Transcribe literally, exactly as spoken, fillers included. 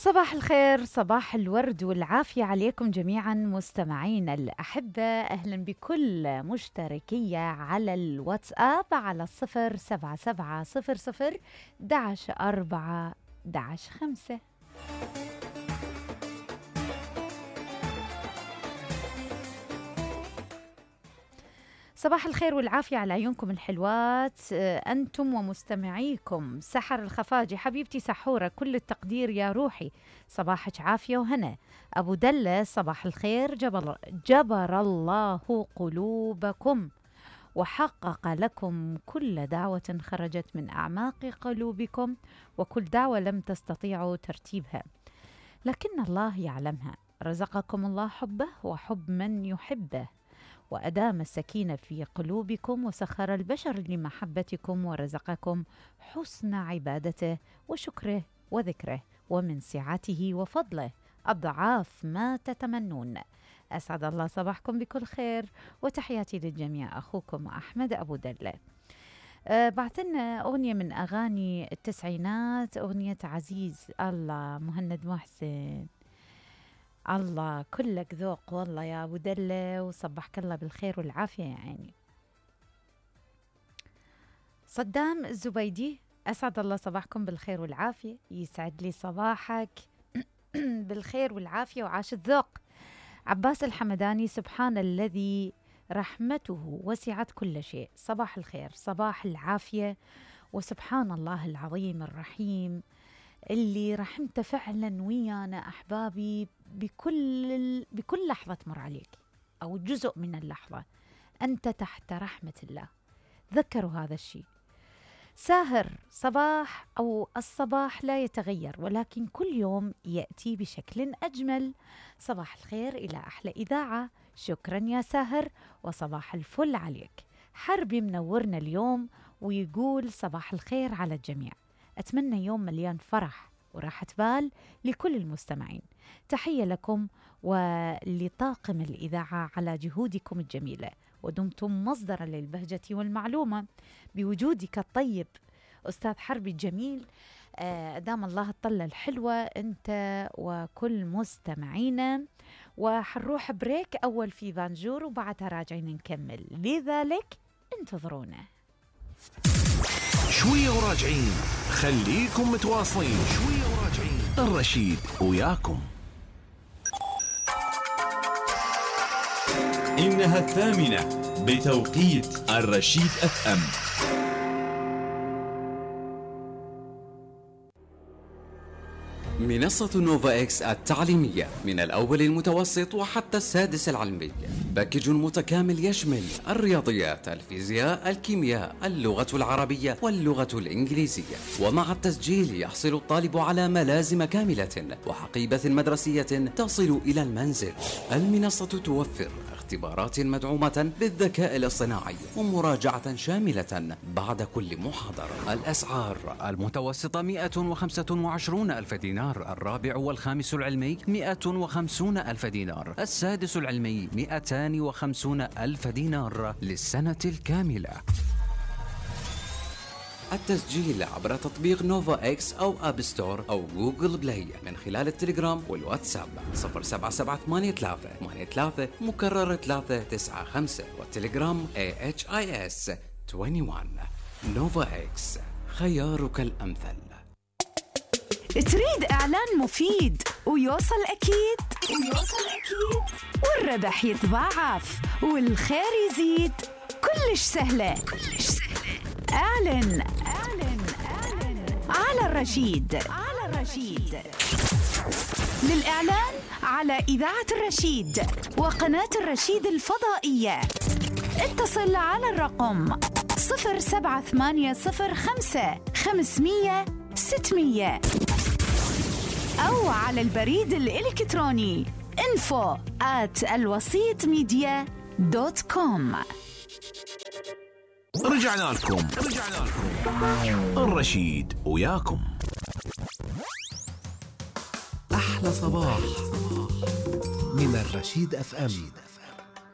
صباح الخير، صباح الورد والعافية عليكم جميعا مستمعين الأحبة. أهلا بكل مشتركية على الواتساب على الصفر سبعة سبعة صفر صفر دعش أربعة دعش خمسة. صباح الخير والعافية على عيونكم الحلوات، أنتم ومستمعيكم. سحر الخفاجي حبيبتي سحورة، كل التقدير يا روحي، صباحك عافية وهنا. أبو دلة صباح الخير، جبر, جبر الله قلوبكم وحقق لكم كل دعوة خرجت من أعماق قلوبكم، وكل دعوة لم تستطيعوا ترتيبها لكن الله يعلمها. رزقكم الله حبه وحب من يحبه، وأدام السكينة في قلوبكم، وسخر البشر لمحبتكم، ورزقكم حسن عبادته وشكره وذكره، ومن سعته وفضله أضعاف ما تتمنون. أسعد الله صباحكم بكل خير، وتحياتي للجميع. أخوكم أحمد أبو دلة. أه بعثنا أغنية من أغاني التسعينات، أغنية عزيز. الله مهند محسن، الله كلك ذوق والله يا أبو دلة، وصبحك الله بالخير والعافية يا عيني. صدام الزبيدي، أسعد الله صباحكم بالخير والعافية، يسعد لي صباحك بالخير والعافية وعاش الذوق. عباس الحمداني، سبحان الذي رحمته وسعت كل شيء، صباح الخير، صباح العافية، وسبحان الله العظيم الرحيم اللي رحمته فعلا ويانا أحبابي بكل بكل لحظة تمر عليك أو جزء من اللحظة أنت تحت رحمة الله. ذكروا هذا الشيء. ساهر، صباح أو الصباح لا يتغير، ولكن كل يوم يأتي بشكل أجمل. صباح الخير إلى أحلى إذاعة، شكرا يا ساهر، وصباح الفل عليك. حربي منورنا اليوم ويقول صباح الخير على الجميع، أتمنى يوم مليان فرح وراحة بال لكل المستمعين. تحية لكم ولطاقم الإذاعة على جهودكم الجميلة، ودمتم مصدرا للبهجة والمعلومة بوجودك الطيب أستاذ حربي الجميل. آه دام الله الطلة الحلوة أنت وكل مستمعينا. وحنروح بريك أول في فانجور، وبعدها راجعين نكمل، لذلك انتظرونا شوية وراجعين. خليكم متواصلين، شوية وراجعين. الرشيد وياكم. إنها الثامنة بتوقيت الرشيد اف ام. منصة نوفا إكس التعليمية، من الأول المتوسط وحتى السادس العلمي، باكج متكامل يشمل الرياضيات، الفيزياء، الكيمياء، اللغة العربية واللغة الإنجليزية. ومع التسجيل يحصل الطالب على ملازم كاملة وحقيبة مدرسية تصل إلى المنزل. المنصة توفر اختبارات مدعومة بالذكاء الاصطناعي ومراجعة شاملة بعد كل محاضرة. الأسعار: المتوسطة مئة وخمسة وعشرون ألف دينار، الرابع والخامس العلمي مئة وخمسون ألف دينار، السادس العلمي مئتان وخمسون ألف دينار للسنة الكاملة. التسجيل عبر تطبيق نوفا إكس أو أب ستور أو جوجل بلاي من خلال التليجرام والواتساب صفر سبعة سبعة ثمانية ثلاثة ثمانية ثلاثة مكرر ثلاثة تسعة خمسة، والتليجرام إيه إتش آي إس واحد وعشرين. نوفا إكس، خيارك الأمثل. تريد إعلان مفيد ويوصل أكيد ويوصل أكيد والربح يتضاعف والخير يزيد؟ كلش سهلة كلش سهلة. اعلن اعلن اعلن على الرشيد على الرشيد. للإعلان على إذاعة الرشيد وقناة الرشيد الفضائية اتصل على الرقم صفر سبعة ثمانية صفر خمسة خمسمية ستمية أو على البريد الإلكتروني info at الوسيط ميديا دوت كوم. رجعنا لكم رجعنا لكم الرشيد وياكم. أحلى صباح من الرشيد اف ام.